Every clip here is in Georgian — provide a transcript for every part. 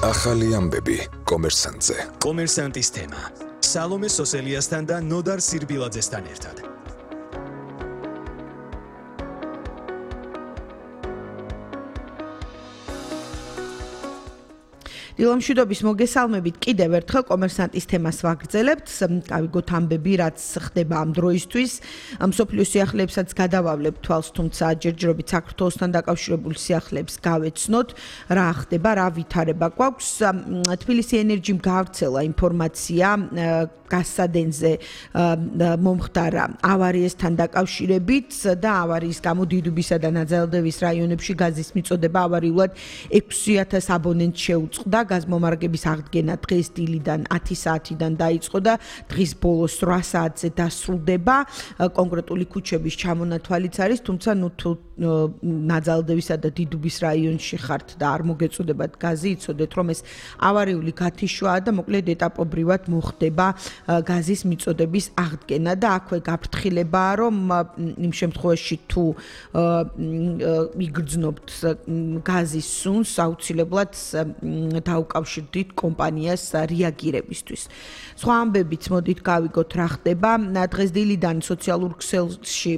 ახალი ამბები კომერსანტზე. კომერსანტის თემა. სალომე სოსელიასთან და ნოდარ სირბილაძესთან ერთად. დილამშვიდობის მოგესალმებით კიდევ ერთხელ კომერსანტის თემას ვაგრძელებთ. გავიგოთ ამბები, რაც ხდება ამ დროისთვის. მსოფლიო სიახლეებსაც გადავავლებთ თვალს, თუმცა ჯერჯერობით საქართველოსთან დაკავშირებული სიახლეებს გავეცნოთ, რა ხდება, რა ვითარება გვაქვს. თბილისი ენერჯიმ გაავრცელა ინფორმაცია გასადენზე მომხდარა ავარიასთან დაკავშირებით და ავარიის გამო დიდუბისა და ნაძალდევის რაიონებში გაზის მიწოდება ავარიულად 6000 აბონენტს შეუწყდა. გაზმომარაგების აღდგენა დღეს დილიდან 10 საათიდან დაიწყო და დღის ბოლოს 8 საათზე დასრულდება. კონკრეტული ქუჩების ჩამონათვალიც არის, თუმცა თუ ნაძალდევისა და დიდუბის რაიონში ხართ და არ მოგეწოდებათ გაზი, იცოდეთ რომ ეს ავარიული გათიშვაა და მოკლედ ეტაპობრივად მოხდება გაზის მიწოდების აღდგენა და აქვე გაფრთხილებაა, რომ იმ შემთხვევაში თუ იგრძნობთ გაზის სუნს, აუცილებლად დაუკავშირდით კომპანიას რეაგირებისთვის. სხვა ამბებით მოდით გავიგოთ რა ხდება. დღეს დილიდან სოციალურ ქსელში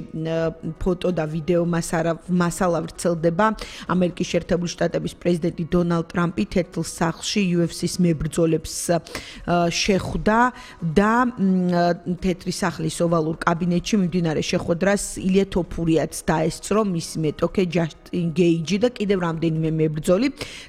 ფოტო და ვიდეო მასალა ვრცელდება. ამერიკის შეერთებული შტატების პრეზიდენტი დონალდ ტრამპი თეთრ სახლში UFC-ს მებრძოლებს შეხვდა და თეთრი სახლის ოვალურ კაბინეტში მიმდინარე შეხვედრას ილია თოფურიაც დაესწრო, მისი მეტოქე ჯასტინ გეიჯი და კიდევ რამდენიმე მებრძოლი.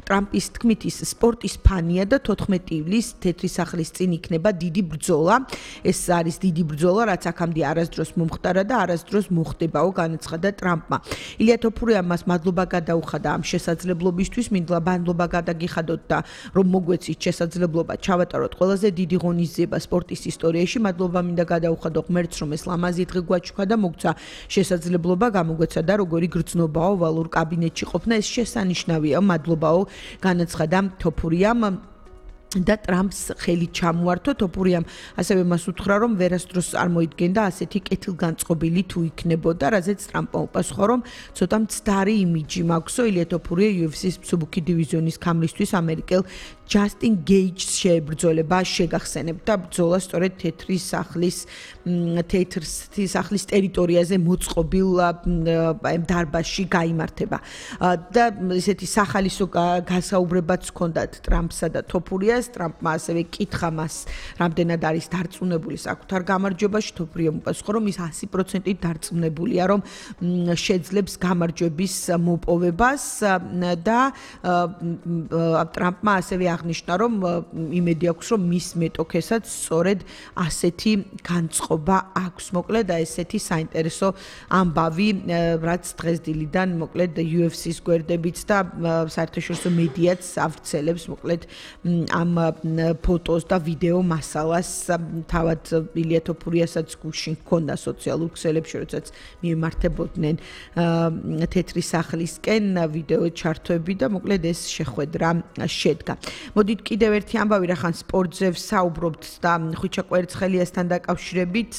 ტრამპის თქმით ის სპორტის ფანია და 14 ივლისს თეთრი სახლის წინ იქნება დიდი ბრძოლა. ეს არის დიდი ბრძოლა, რაც აქამდე არასდროს მომხდარა და არასდროს მოხდებაო, განაცხადა ტრამპმა. ილია თოფურიამ მას მადლობა გადაუხადა ამ შესაძლებლობისთვის, მინდა მადლობა გადაგიხადოთ და რომ მოგვეცით შესაძლებლობა ჩავატაროთ ყველაზე დიდი ღონისძიება სპორტის ისტორიაში. მადლობა მინდა გადაუხადო ღმერთს, რომ ეს ლამაზი დღე გვაჩვქა და მოგცა შესაძლებლობა გამოგვეცა და როგორი გრძნობაო ვალურ კაბინეტში ყოფნა, ეს შესანიშნავია. მადლობაო, განაცხადა თოფურიამ და ტრამპს ხელი ჩამოართო. თოფურიამ ასევე მას უთხრა, რომ ვერასდროს არ მოიდგენდა ასეთი კეთილგანწყობილი თუ იქნებოდა, რაზეც ტრამპმა უპასუხა, რომ ცოტა მცდარი იმიჯი მაქვსო. ილია თოფურია UFC-ს მსუბუქი დივიზიონის ქამრისთვის ამერიკელ ჯასტინ გეიჯს შეებრძოლება შეგახსენებთ და ბრძოლა სწორედ თეთრი სახლის ტერიტორიაზე მოწყობილ დარბაზში გაიმართება. და ესეთი სახალისო გასაუბრებაც ჰქონდათ ტრამპსა და თოფურიას. ტრამპმა ასევე კითხა მას, რამდენად არის დარწმუნებული საკუთარ გამარჯვებაში. თოფურიამ უპასუხა, რომ ის 100%-ით დარწმუნებულია, რომ შეძლებს გამარჯვების მოპოვებას და ტრამპმა ასევე აღნიშნა, რომ იმედი აქვს, რომ მის მეტოქესაც სწორედ ასეთი განწყობა აქვს. მოკლედ ესეთი საინტერესო ამბავი, რაც დღეს დილიდან მოკლედ UFC-ს გვერდებით და საერთაშორისო მედიაც ავრცელებს მოკლედ ამ ფოტოს და ვიდეო მასალას. თავად ილია თოფურიასაც გუშინ ჰქონდა სოციალურ ქსელებში, როდესაც მიემართებოდნენ თეთრი სახლისკენ ვიდეო ჩართვები და მოკლედ ეს შეხვედრა შედგა. მოდით კიდევ ერთი ამბავი, რახან სპორტზე ვსაუბრობთ და ხვიჩა კვერცხელიასთან დაკავშირებით.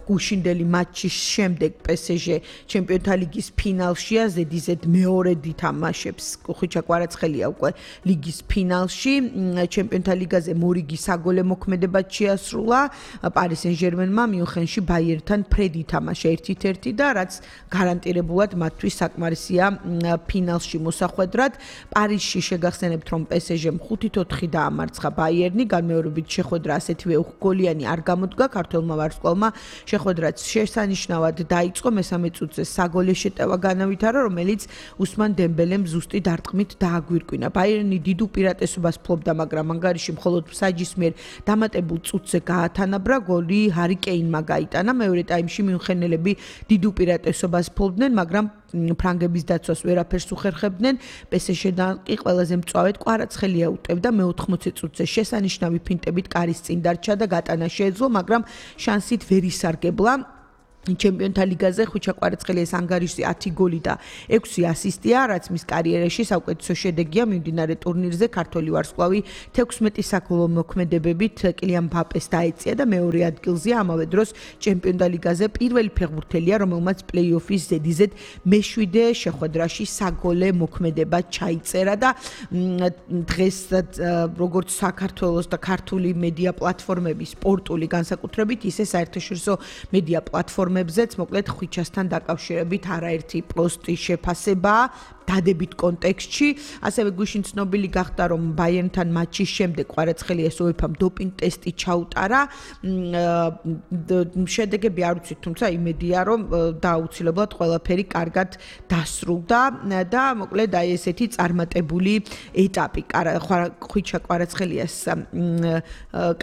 გუშინდელი მატჩის შემდეგ PSG ჩემპიონთა ლიგის ფინალშია, ზედიზედ მეორედ ითამაშებს ხვიჩა კვარაცხელია უკვე ლიგის ფინალში. ჩემპიონთა ლიგაზე მორიგი საგოლე მოქმედება შეასრულა. პარი სენ-ჟერმენმა მიუნხენში ბაიერთან ფრედ ითამაშა 1-1 და რაც გარანტირებულად მათთვის საკმარისია ფინალში მოსახვედრად. პარიზში შეგახსენებთ, რომ PSG-მ 5-4 დაამარცხა ბაიერნი, განმეორებით შეხვედრა ასეთივე უხგოლიანი არ გამოდგა. ქართველმა ვარსკვლავმა შეხვედრაც შესანიშნავად დაიწყო. მესამე წუთზე საგოლე შეტევა განავითარა, რომელიც უსმან დემბელემ ზუსტი დარტყმით დააგვირკვინა. ბაიერნი დიდ უპირატესობას ფლობდა, მაგრამ ანგარიში მხოლოდ მსაჯის მიერ დამატებულ წუთზე გაათანაბრა. გოლი ჰარი კეინმა გაიტანა. მეორე ტაიმში მიუნხენელები დიდ უპირატესობას ფლობდნენ, მაგრამ ფრანგების დაცვას ვერაფერს უხერხებდნენ. PSG-დან კი ყველაზე მწვავედ კვარაცხელია უტევდა. მე-80 წუთზე შესანიშნავი ფინტებით კარის წინ დარჩა და გატანა შეეძლო, მაგრამ შანსით ვერ ისარგებლა. ჩემპიონთა ლიგაზე ხვიჩა კვარაცხელიას ანგარიშზე 10 გოლი და 6 ასისტია, რაც მის კარიერაში საუკეთესო შედეგია მიმდინარე ტურნირზე. ქართველი ვარსკვლავი 16 საგოლო მოქმედებებით კილიან მბაპეს დაეწია და მეორე ადგილზეა. ამავე დროს ჩემპიონთა ლიგაზე პირველი ფეხბურთელია, რომელმაც პლეი-ოფის ზედიზედ მე-7 შეხვედრაში საგოლე მოქმედება ჩაიწერა და დღეს როგორც საქართველოს და ქართული მედია პლატფორმების სპორტული განსაკუთრებით, ისე საერთაშორისო მედია პლატფორმებზეც მოკლედ ხვიჩასთან დაკავშირებით არაერთი პოსტი შეფასებაა დადებით კონტექსტში. ასევე გუშინ ცნობილი გახდა, რომ ბაიერნთან მატჩის შემდეგ კვარაცხელიას UEFA-მ დოპინგ ტესტი ჩაუტარა. შედეგები არ ვიცით, თუმცა იმედია, რომ დაუცილებლად ყველაფერი კარგად დასრულდა და მოკლედ აი ესეთი წარმატებული ეტაპი ხვიჩა კვარაცხელიას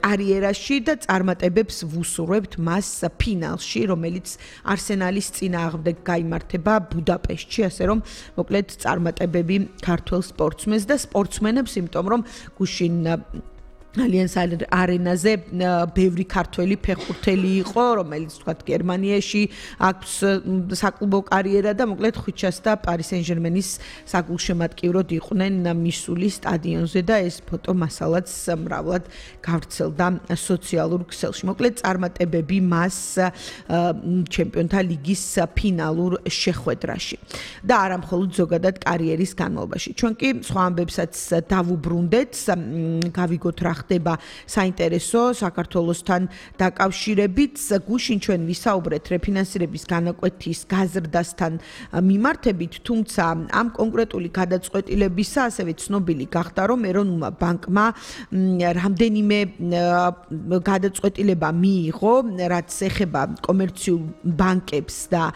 კარიერაში და წარმატებებს ვუსურვებთ მას ფინალში, რომელიც არსენალის წინააღმდეგ გაიმართება ბუდაპეშტში, ასე რომ მოკლედ წარმატებები ქართულ სპორტსმენს და სპორტსმენებს, იმიტომ რომ გუშინ ალიანს არენაზე ბევრი ქართველი ფეხბურთელი იყო, რომელიც თქვათ გერმანიაში აქვს საკლუბო კარიერა და მოკლედ ხვიჩას და პარი სენ-ჟერმენის საგულშემატკივროდ იყვნენ მისული სტადიონზე და ეს ფოტო მასალაც მრავლად გავრცელდა სოციალურ ქსელში. მოკლედ წარმატებები მას ჩემპიონთა ლიგის ფინალურ შეხვედრაში და არა მხოლოდ ზოგადად კარიერის განმავლობაში. ჩვენ კი სხვა ამბებსაც დავუბრუნდეთ, გავიგოთ რა ხდება საინტერესო საქართველოსთან დაკავშირებით. გუშინ ჩვენ ვისაუბრეთ რეფინანსირების განაკვეთის გაზრდასთან მიმართებით, თუმცა ამ კონკრეტული გადაწყვეტილებისა ასევე ცნობილი გახდა, რომ ეროვნულმა ბანკმა რამდენიმე გადაწყვეტილება მიიღო, რაც ეხება კომერციულ ბანკებს და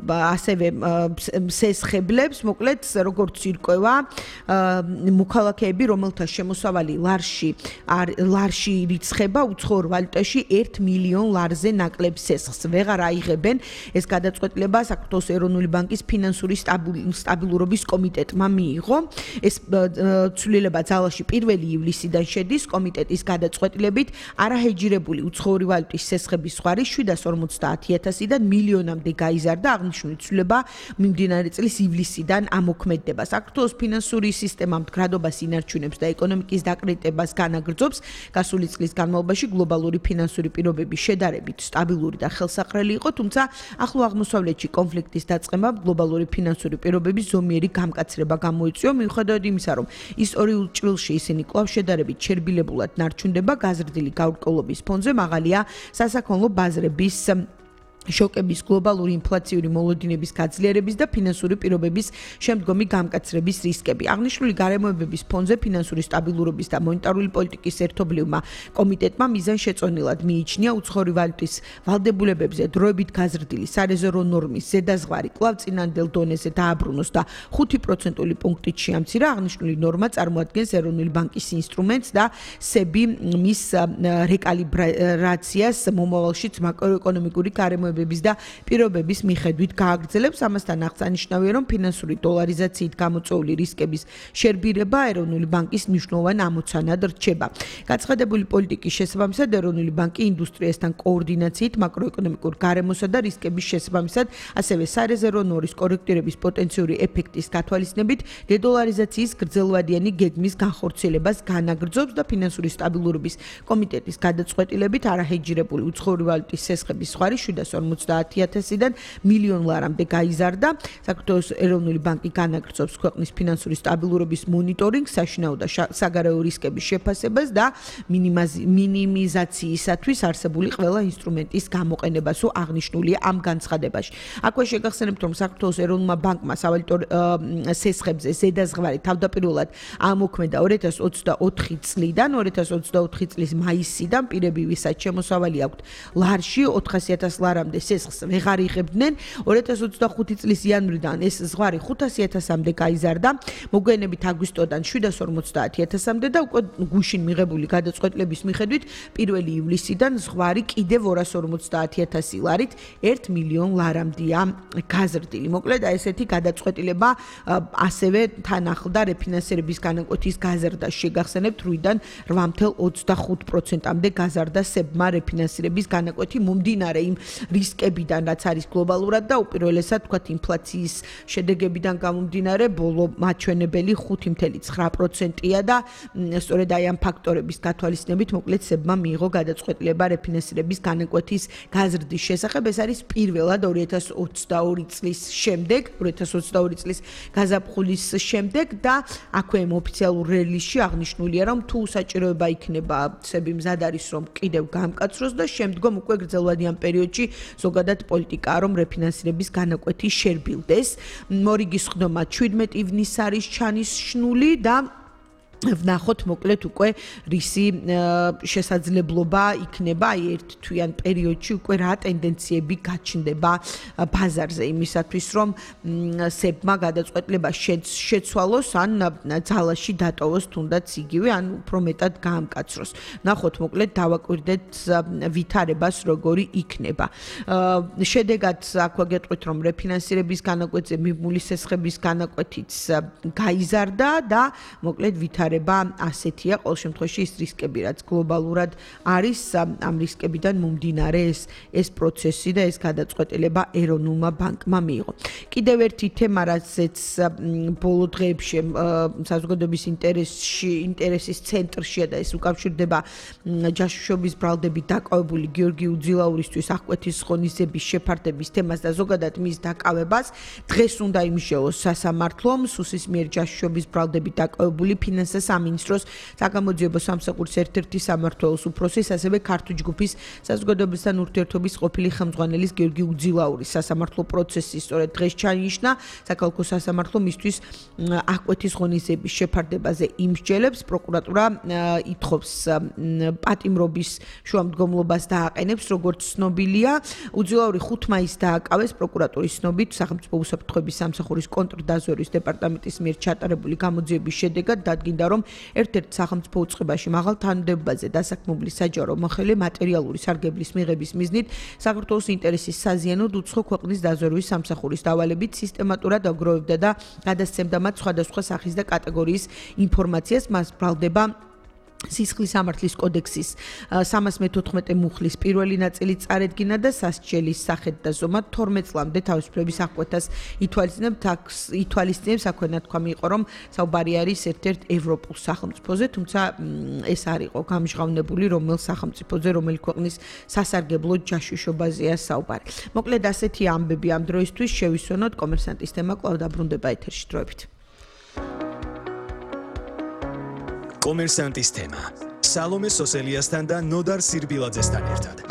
ასევე სესხებლებს, მოკლედ როგორც ირკვევა, მოქალაქეები, რომელთა შემოსავალი ლარში ირიცხება უცხოურ ვალუტაში 1 მილიონ ლარზე ნაკლებ სესხს ვეღარ აიღებენ. ეს გადაწყვეტილება საქართველოს ეროვნული ბანკის ფინანსური სტაბილურობის კომიტეტმა მიიღო. ეს ცვლილება ძალაში 1 ივლისიდან შედის. კომიტეტის გადაწყვეტილებით არაჰეჯირებული უცხოური ვალუტის სესხების ხარი 750,000-დან მილიონამდე გაიზარდა. აღნიშნული ცვლილება მიმდინარე წლის ივლისიდან ამოქმედდება. საქართველოს ფინანსური სისტემა მდგრადობას ინარჩუნებს და ეკონომიკის დაკრიტებას განაგრძობს. გასული წლის განმავლობაში გლობალური ფინანსური პირობები შედარებით სტაბილური და ხელსაყრელი იყო, თუმცა ახლო აღმოსავლეთში კონფლიქტის დაწყებამ გლობალური ფინანსური პირობების ზომიერი გამკაცრება გამოიწვია, მიუხედავად იმისა, რომ ისტორიულ ჭრილში ისინი კვლავ შედარებით შერბილებულად ნარჩუნდება, გაზრდილი გაურკვევლობის ფონზე მაღალია სასაქონლო ბაზრების შოკების, გლობალური ინფლაციური მოლოდინების გაძლიერების და ფინანსური პირობების შემდგომი გამკაცრების რისკები. აღნიშნული გარემოებების ფონზე ფინანსური სტაბილურობის და მონეტარული პოლიტიკის ერთობლივმა კომიტეტმა მიზანშეწონილად მიიჩნია უცხოური ვალუტის ვალდებულებებზე დროებით გაზრდილი სარეზერვო ნორმის ზედაზღვარი კვლავ წინანდელ დონეზე დააბრუნოს და 5%-ული პუნქტით შეამცირა. აღნიშნული ნორმა წარმოადგენს ეროვნული ბანკის ინსტრუმენტს და სები მის რეკალიბრაციას მომავალშიც მაკროეკონომიკური გარემოებების და პირობების მიხედვით გააგრძელებს. ამასთან აღსანიშნავია, რომ ფინანსური დოლარიზაციით გამოწვეული რისკების შერბირება ეროვნული ბანკის მნიშვნელოვან ამოცანად რჩება. გაცხადებული პოლიტიკის შესაბამისად ეროვნული ბანკი ინდუსტრიასთან კოორდინაციით მაკროეკონომიკურ გარემოსა და რისკების შესაბამისად, ასევე სარეზერვო ნორმის კორექტირების პოტენციური ეფექტის გათვალისწინებით დედოლარიზაციის გრძელვადიანი გეგმის განხორციელებას განაგრძობს და ფინანსური სტაბილურობის კომიტეტის გადაწყვეტილებით არაჰეჯირებული უცხოური ვალუტის სესხების ხარი 750,000-დან მილიონ ლარამდე გაიზარდა. საქართველოს ეროვნული ბანკი განაგრძობს ქვეყნის ფინანსური სტაბილურობის მონიტორინგს, საშინაო და საგარეო რისკების შეფასებას და მინიმიზაციისათვის არსებული ყველა ინსტრუმენტის გამოყენებას აღნიშნულია ამ განცხადებაში. აქვე შეგახსენებთ, რომ საქართველოს ეროვნულმა ბანკმა სავალუტო სესხებზე ზედაზღვარი თავდაპირველად ამოქმედა 2024 წლიდან, 2024 წლის მაისიდან პირები, ვისაც შემოსავალი აქვთ ლარში 400,000 ლარამდე სესხს ვეღარ იღებდნენ. 2025 წლის იანვრიდან ეს ზღვარი 500,000-მდე გაიზარდა, მოგვიანებით აგვისტოდან 750,000-მდე და უკვე გუშინ მიღებული გადაწყვეტილების მიხედვით 1 ივლისიდან ზღვარი კიდევ 250,000 ლარით 1 მილიონ ლარამდეა გაზრდილი. მოკლედ ესეთი გადაწყვეტილება ასევე თან ახლდა რეფინანსირების განაკვეთის გაზრდას. შეგახსენებთ 8-დან 8.25%-მდე გაზარდა სებმა რეფინანსირების განაკვეთი მომდინარე იმ რისკებიდან, რაც არის გლობალურად და უპირველესად თქვათ ინფლაციის შედეგებიდან გამომდინარე, ბოლო მაჩვენებელი 5.9%-ია და სწორედ აი ამ ფაქტორების გათვალისწინებით მოკლედ სებმა მიიღო გადაწყვეტილება რეფინანსირების განაკვეთის გაზრდის შესახებ. ეს არის პირველად 2022 წლის შემდეგ, 2022 წლის გაზაფხულის შემდეგ და აქვე ოფიციალურ რელიზში აღნიშნულია, რომ თუ საჭიროება იქნება, ცები მზად არის, რომ კიდევ გამკაცროს და შემდგომ უკვე გრძელვადიან პერიოდში ზოგადად პოლიტიკაა, რომ რეფინანსირების განაკვეთი შერბილდეს. მორიგის ხდომა 17 ივნისს არის ჩანიშნული და ვნახოთ მოკლედ უკვე რისი შესაძლებლობა იქნება აი ერთ თვიან პერიოდში უკვე რა ტენდენციები გაჩნდება ბაზარზე იმისათვის რომ სებმა გადაწყვეტილება შეცვალოს ან ძალაში დატოვოს თუნდაც იგივე ან უფრო მეტად გაამკაცროს. ვნახოთ მოკლედ დავაკვირდეთ ვითარებას როგორი იქნება. შედეგად აქვე გეტყვით რომ რეფინანსირების განაკვეთზე მიმული სესხების განაკვეთიც გაიზარდა და მოკლედ ასეთია ყოველ შემთხვევაში ის რისკები რაც გლობალურად არის ამ რისკებიდან მომდინარე ეს პროცესი და ეს გადაწყვეტილება ეროვნულმა ბანკმა მიიღო. კიდევ ერთი თემა რაცაც ბოლო დღეებში საზოგადოების ინტერესის ცენტრშია და ეს უკავშირდება ჯაშუშობის ბრალდებით დაკავებული გიორგი უძილაურისთვის აღკვეთის ღონისძიების შეფარდების თემას და ზოგადად მის დაკავებას დღეს უნდა იმსჯელოს სასამართლომ სუსის მიერ ჯაშუშობის ბრალდებით დაკავებული ფინანსთა სამინისტროს საგამოძიებო სამსახურის ერთ-ერთი სამმართველოს უფროსის, ასევე ქართული ჯგუფის საზოგადოებასთან ურთიერთობის ყოფილი ხელმძღვანელის გიორგი უძილაურის სასამართლო პროცესი სწორედ დღეს ჩაინიშნა. საქალაქო სასამართლო მისთვის აღკვეთის ღონისძიების შეფარდებაზე იმსჯელებს. პროკურატურა ითხოვს პატიმრობის შუამდგომლობას დააყენებს, როგორც ცნობილია. უძილაური 5 მაისს დააკავეს პროკურატურის ცნობით სახელმწიფო უსაფრთხოების სამსახურის კონტრდაზვერვის დეპარტამენტის მიერ ჩატარებული გამოძიების შედეგად დადგინდა რომ ერთ-ერთ სახელმწიფო უწყებაში მაღალ თანამდებობაზე დასაქმებული საჯარო მოხელე მატერიალური სარგებლის მიღების მიზნით საქართველოს ინტერესის საზიანოდ უცხო ქვეყნის დაზვერვის სამსახურის დავალებით სისტემატურად აგროვებდა და გადასცემდა მათ სხვადასხვა სახის და კატეგორიის ინფორმაციას. მას ბრალდება სისხლის სამართლის კოდექსის 314 მუხლის პირველი ნაწილი წარედგინა და სასჯელის სახით და ზომად 12 წლამდე თავისუფლების აღკვეთას ითვალისწინებს. აქვე ნათქვამი იყო, რომ საუბარი არის ერთ-ერთ ევროპულ სახელმწიფოზე, თუმცა ეს არ იყო გამჟღავნებული, რომელ სახელმწიფოზე, რომელი ქვეყნის სასარგებლო ჯაშუშობაზეა საუბარი. მოკლედ ასეთი ამბები ამ დროისთვის შევისვენოთ. კომერსანტის თემა კვლავ დაბრუნდება ეთერში დროებით. კომერსანტის თემა სალომე სოსელიასთან და ნოდარ სირბილაძესთან ერთად.